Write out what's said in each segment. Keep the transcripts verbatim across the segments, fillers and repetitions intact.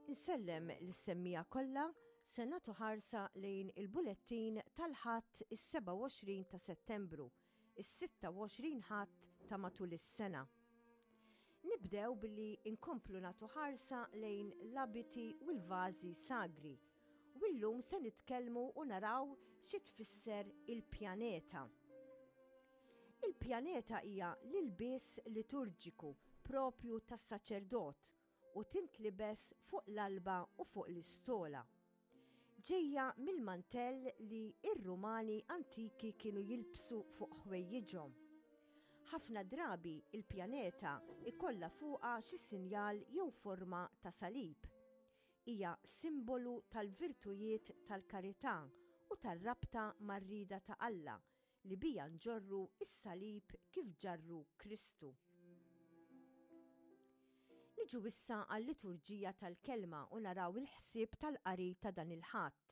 Insellem lis-semmiegħa kollha. Se nagħtu ħarsa lejn il-bulettin tal-Ħadd is-sebgħa u għoxrin ta' Settembru, is-sitta u għoxrin Ħadd ta' matul is-sena. Nibdew billi inkomplu nagħtu ħarsa lejn l-abiti u l-vażi sagri. U llum se nitkellmu u naraw xi tfisser il-pjaneta. Il-pjaneta hija l-ilbies liturġiku propju tas-saċerdot u tintlibes fuq l-alba u fuq l-istola. Ġejja mill-mantell li ir-Rumani antiki kienu jilbsu fuq ħwejjiġhom. Ħafna drabi il-pjaneta ikolla fuqha xi sinjal jew forma ta' salib. Hija simbolu tal-virtujiet tal-karità u tar-rabta mar-rieda ta' Alla li bija nġorru is-salib kif ġarru Kristu. Niġu issa għal-liturġija tal-kelma u naraw il-ħsieb tal-qari ta' dan il-Ħadd.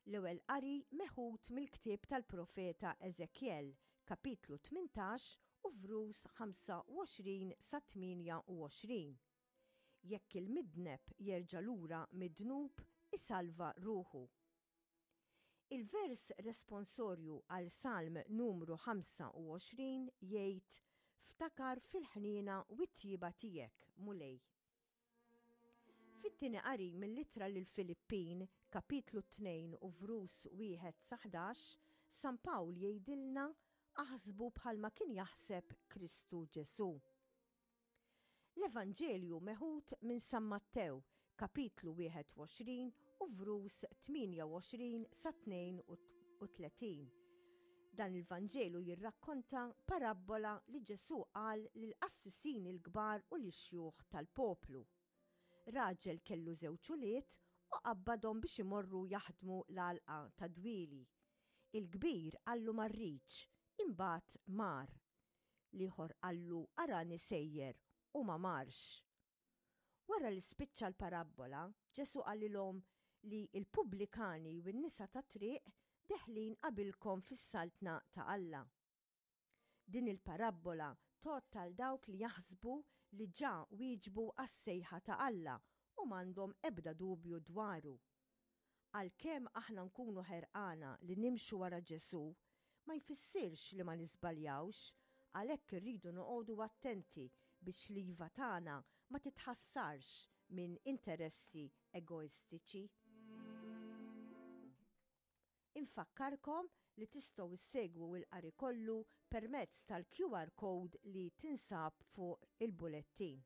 L-ewwel qari meħud mill-ktieb tal-profeta Ezekiel, kapitlu tmintax u vrus ħamsa u għoxrin sa tmienja u għoxrin. Jekk il-midneb jerġa' lura mid-dnub, isalva ruħu. Il-vers responsorju għal Salm numru ħamsa u għoxrin jgħid: "Ftakar fil-ħniena u t-tjieba tiegħek, Mulej." Fit-tieni qari mill-ittra lil Filippin, kapitlu tnejn u vrus wieħed sa ħdax, San Pawl jgħidilna: "Aħsbu bħalma kien jaħseb Kristu Ġesu." L-Evanġelju meħud minn San Mattew, kapitlu wieħed u għoxrin u vrus tmienja u għoxrin sa tnejn u tletin. Dan il-Vanġelu jirrakkonta parabbola li Ġesu qal lill-qassisin il-kbar u l-xjuħ tal-poplu. Raġel kellu żewġ ulied u qabbadhom biex imorru jaħdmu l-għalqa ta' dwieli. Il-kbir qallu: "Ma rridx", imbagħad mar. L-ieħor qallu: "Arani sejjer", u ma marx. Wara li spiċċa l-parabbola, Ġesu qalilhom li il-pubblikani u n-nisa ta' triq deħlin qabilkom fis-saltna ta' Alla. Din il-parabbola tgħodd għal dawk li jaħsbu li ġa wieġbu għas-sejħa ta' Alla u m'għandhom ebda dubju dwaru. Għalkemm aħna nkunu ħerqana li nimxu wara Ġesu, ma jfissirx li ma niżbaljawx, għalhekk irridu noqogħdu attenti biex l-iva tagħna ma titħassarx minn interessi egoistiċi. Infakkarkom li tistgħu issegwu il-qari kollu permezz tal-Q R code li tinsab fuq il-bulettin.